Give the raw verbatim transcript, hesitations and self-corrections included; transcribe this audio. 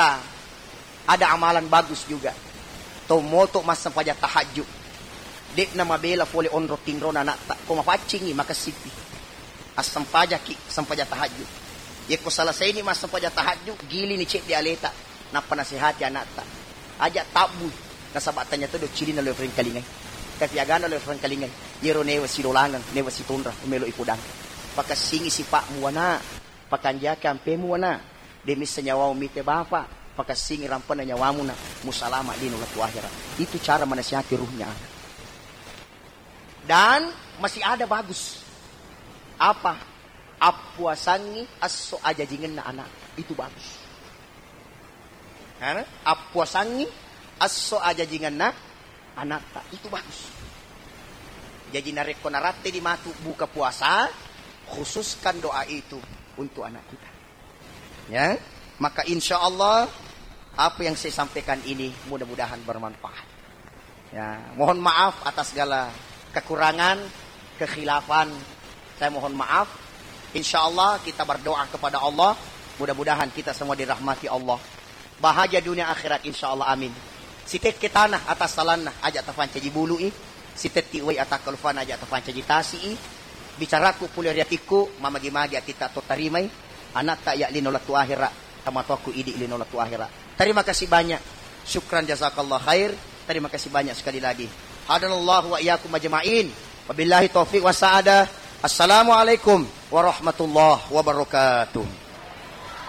Ta, ada amalan bagus juga. To moto massempajang tahajud. De'na mabela fole onro tinrona anatta. Ko mapaccingi, makessippi. Assempajaki, sempajang tahajud. Yekko selesaini massempajang tahajud, gilini cedde aleta. Nappa nasehati anatta. Aja tabbui. Nasaba tanya todo cilina lo frengkalingai. Tapi agana lo frengkalingai. Yero newa silolangeng, newa sitonra, melo ipodang. Pakessingi sipa'mu wana. Pakanjaki ampemu wana. De missa nyawamu mite bapa, pakessingi rampana nyawamuna, musalama lino latu akhirat. Itu cara menasihati ruhnya anak. Dan masih ada bagus. Apa? Appuasangi esso ajajingenna anak. Itu bagus. Hah? Appuasangi esso ajajingenna anatta. Itu bagus. Jadi narekko naratteni matu buka puasa, khususkan doa itu untuk anak kita. Ya, maka insya Allah apa yang saya sampaikan ini mudah-mudahan bermanfaat. Ya, mohon maaf atas segala kekurangan, kekhilafan. Saya mohon maaf. Insya Allah kita berdoa kepada Allah. Mudah-mudahan kita semua dirahmati Allah. Bahagia dunia akhirat, insya Allah, amin. Sitekke tanah atas salanna, aja tafancaji bului. Sitetti wai atakkalufana, aja tafancaji tasi'i. Bicaraku pole ri atikku, mamagi-magi atitta to tarimai. Anatta ya lino latu akhirat, tamatoakku idi lino latu akhirat. Terima kasih banyak. Syukran jazakallah khair. Terima kasih banyak sekali lagi. Hadanallahu wa iyyakum ajma'in. Wabillahi taufiq wa sa'adah. Assalamualaikum warahmatullahi wabarakatuh.